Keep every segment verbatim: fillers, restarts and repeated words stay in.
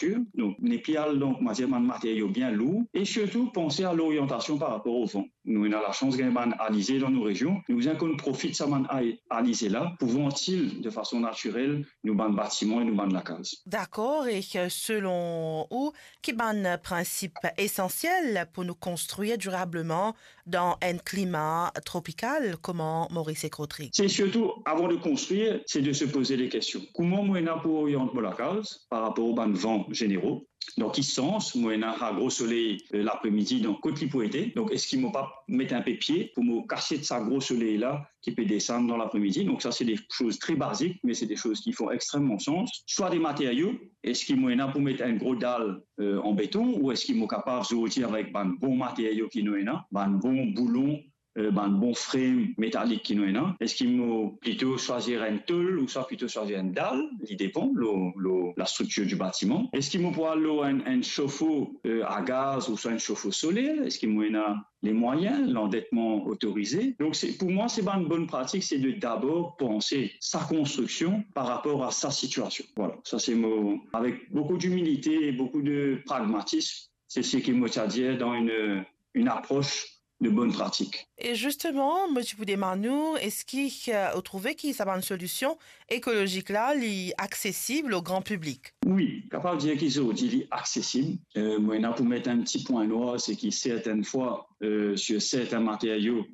manufaktir. Donk, nepli al dan, koumadir, bann materio bien lour. E sirtou, panse a loriantasion par rapor o van. Nou ena lasans gagn bann alize dan nou rezion. Nou bizin konn profit sa bann a-, alize la pou vantil de fason natirel nou bann batiman e nou bann lakaz. Dakor, e selon ou, ki bann prinsip esansiel pou nou konstrir dirableman dan enn klima tropikal kouma Moris ek Rodrig? Se sirtou, avan de konstrir, se de se poze de kestion. Kouma mo ena pou oriant mo lakaz par rapor bann van zenero? Dan ki sans mo ena sa gro soley, eh, lapremidi, dan kot li pou ete? Donk, eski mo pa met inpe pie pou mo kasiet sa gro soley la ki pe desann dan lapremidi? Donk, sa se de soz tre bazik, me se de soz ki font extreman sans. Swa de materio, eski mo ena pou met enn gro dal, eh, an beton, ou eski mo kapav zordi avek bann bon materio ki nou ena, bann bon boulon, eh, bann bon frame metalik ki nou ena? Eski mo plito swazir enn tol ouswa plito swazir enn dal? Li depan lor, lor lastriktir di batiman. Eski mo pou al lor enn, enn sofo, eh, a gaz ouswa enn sofo soler? Eski mo ena lemwayin, landetman otorize? Donk, se, pou mwa, se bann bonn pratik, se de dabor panse sa konstriksion par rapor a sa sitiasion. Vwala, sa se mo, avek boukou dimilite e boukou de pragmatism, se seki mo ti a dir dan enn, enn apros de bonn pratik. E zisteman, mo ti pou demann ou, eski, eh, ou trouve ki sa bann solision ekolozik la, li aksesib o gran piblik? Wi, kapav dir ki zordi li aksesib. Eh, mo ena pou met enn ti pwin nwar, se ki sertennfwa, eh, sir sertin materio,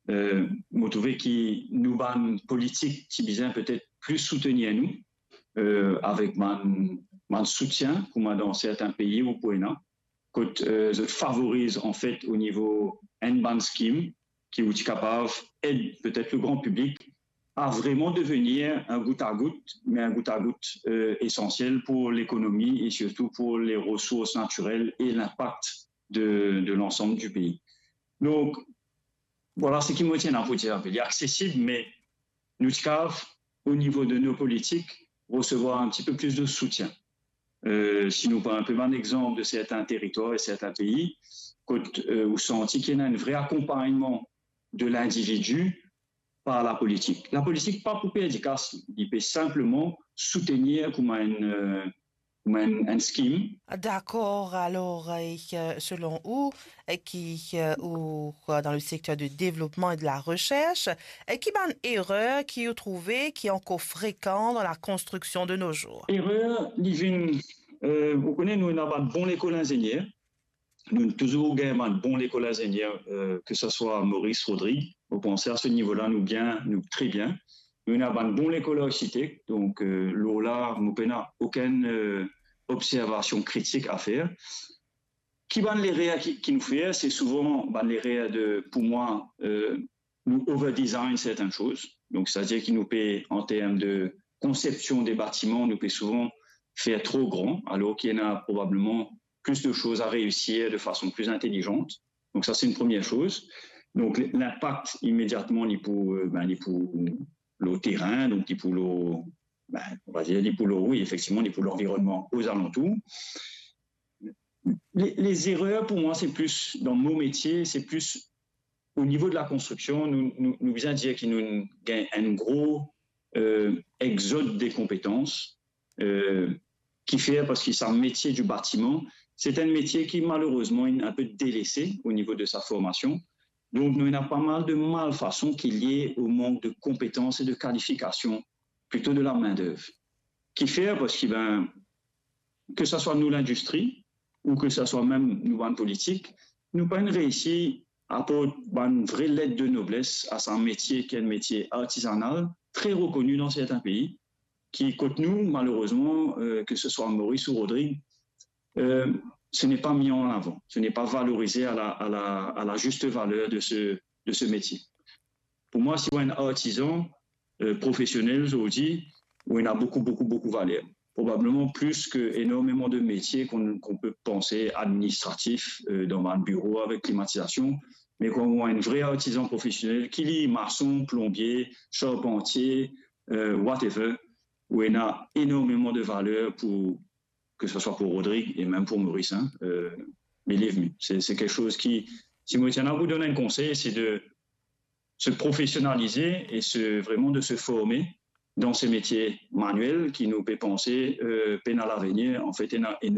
eh, mo trouve ki nou bann politik ti bizin petet plis soutenir nou, eh, avek bann, bann soutien, kouma dan sertin pei ou pou ena, kot, eh, zot favoriz, anfet, o nivo enn bann skim ki ou ti kapav ed petet le gran piblik a vreman devenir enn gout a gout, me enn gout a gout, eh, esansiel pou lekonomi e sirtou pou le resours natirel e linpak de, de lansam di pei. Donk, vwala seki mo ti ena pou dir. Li aksesib, me nou ti kapav, o nivo de nou politik, resevwar enn tipe plis de soutien. Eh, si nou pran enpe bann exanp de sertin teritwar e sertin pei, kot, eh, ou santi ki ena enn vre akonpagnman de lindividi par lapolitik. Lapolitik pa pou perdi kas, li pe sinpleman soutenir kouma enn, eh, kouma enn, enn skim. Dakor, alor, eh, selon ou, eh, ki, eh, ou, eh, dan le sekter de devlopman e de la resers, eh, ki bann erer ki ou trouve ki ankor frekan dan la konstriksion de nos jours? Erer, li vinn, eh, ou kone, nou ena bann bon lekol inzenier, nou touzour gagn bann bon lekol inzenier, eh, ke sa swa Moris, Rodrig, mo panse a se nivo la nou bien, nou tre bien. Nou ena bann bon lekol arsitek, donk, eh, lor la, nou pena okenn, eh, observasion kritik a fer. Ki bann lerer ki, ki nou fer? Se souvan bann lerer de, pou mwa, eh, nou over design sertin soz. Donk, setadir ki nou pe, an term de konsepsion de batiman, nou pe souvan fer tro gran, alor ki ena probableman plis de soz a reisir de fason plis intelizan. Donk, sa, se enn premie soz. Donk, linpak, imediatman, li pou, eh, ben, li pou lor terin, donk li pou lor, ben, on va dire, li pou lor, wi, efektivman, li pou lanvironnman ozalantour. Le, le erer, pou mwa, se plis, dan mo metie, se plis o nivo de la konstriksion, nou, nou, nou bizin dir ki nou gagn enn gro, eh, exod de konpetans, eh, ki fer, parski sa metie di batiman, se enn metie ki, malerezman, inn enpe delese o nivo de sa formasion. Donk, nou ena pa mal de malfason ki lie o mank de konpetans e de kalifikasion, plito de la main d'œuvre. Ki fer, parski, ben, ke sa swa nou lindistri, ou ke sa swa mem nou bann politik, nou pa'nn reisi aport bann vre let de nobles a sa metie ki enn metie artizanal, tre rekoni dan sertin pei, ki kot nou, malerezman, eh, ke se swa Moris ou Rodrig, eh, ce n'est pas mis en avant, ce n'est pas valorisé à la, à la, à la juste valeur de ce, de ce métier. Pou mwa, si ou enn artizan, eh, profesionel, zordi, ou ena boukou, boukou, boukou valer. Probableman plis ke enormeman de metie qu'on, qu'on peut panse administratif, eh, dan bann biro avek klimatizasion, me kan ou enn vre artizan profesionel, ki li mason, plonbie, sharpantie, eh, whatever, ou ena enormeman de valer pou, ke se swa pou Rodrig e mem pou Moris, hein, eh, believe me. Se, se kiksoz ki, si mo ti ena pou donn enn konsey, se de se profesionalize e se, vreman de se forme, dan se metie maniel ki nou pe panse, euh, pena lavenir, anfet, ena, ena